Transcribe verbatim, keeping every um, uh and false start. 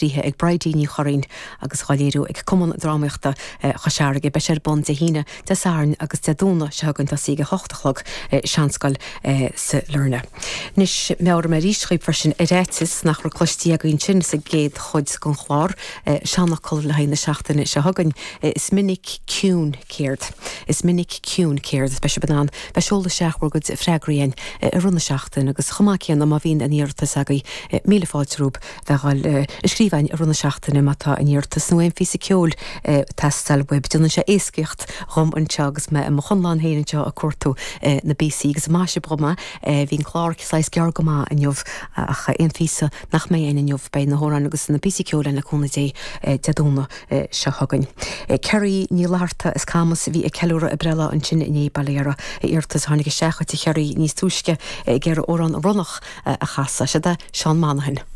Aistrithe ag Bridie Ní Churraoin agus á léiriú ag Cumann Drámaíochta Chois Fharraige. Beidh sé ar bun Dé hAoine, Dé Sathairn agus Dé Domhnaigh seo chugainn tosaí ag a hocht a chlog i Seanscoil sa Lorna. Anois meabhraím arís dhaoibh freisin ar fhaitíos nach raibh cloiste againn sin sa gcéad chuid den chlár, seanfhocal le haghaidh na seachtaine seo chugainn, Is minic ciúin céard. Is minic ciúin céard. Beidh sibh in ann bheith ag seoladh isteach bhur gcuid freagraí againn i rith na seachtaine agus chomh maith céanna má bhíonn aon iarratas agaibh míle fáilte romhaibh bheith ag dul ag scríobh againn i rith na seachtaine má tá aon iarratas nó aon phíosa ceoil ag teastáil uaibh. Déanann sé éascaíocht dhom anseo agus mé i mo chonlán féin anseo ag cuartú na bpíosaí agus maith sibh dhom é. Bhí an clár saghas gearr go maith inniu ach aon phíosa nach mbeidh againn inniu beidh na hamhráin agus na píosaí ceoil againn le cúnamh Dé Dé Domhnaigh seo chugainn. Kerry Ní Fhlatharta as Camas a bhí ag ceiliúradh a breithlá ansin inné, bail ó Dhia uirthi. Iarratas a tháinig isteach chuici a Cherry níos túisce ag iarraidh amhrán Ronnach a chasadh. Seod é Seán Monaghan.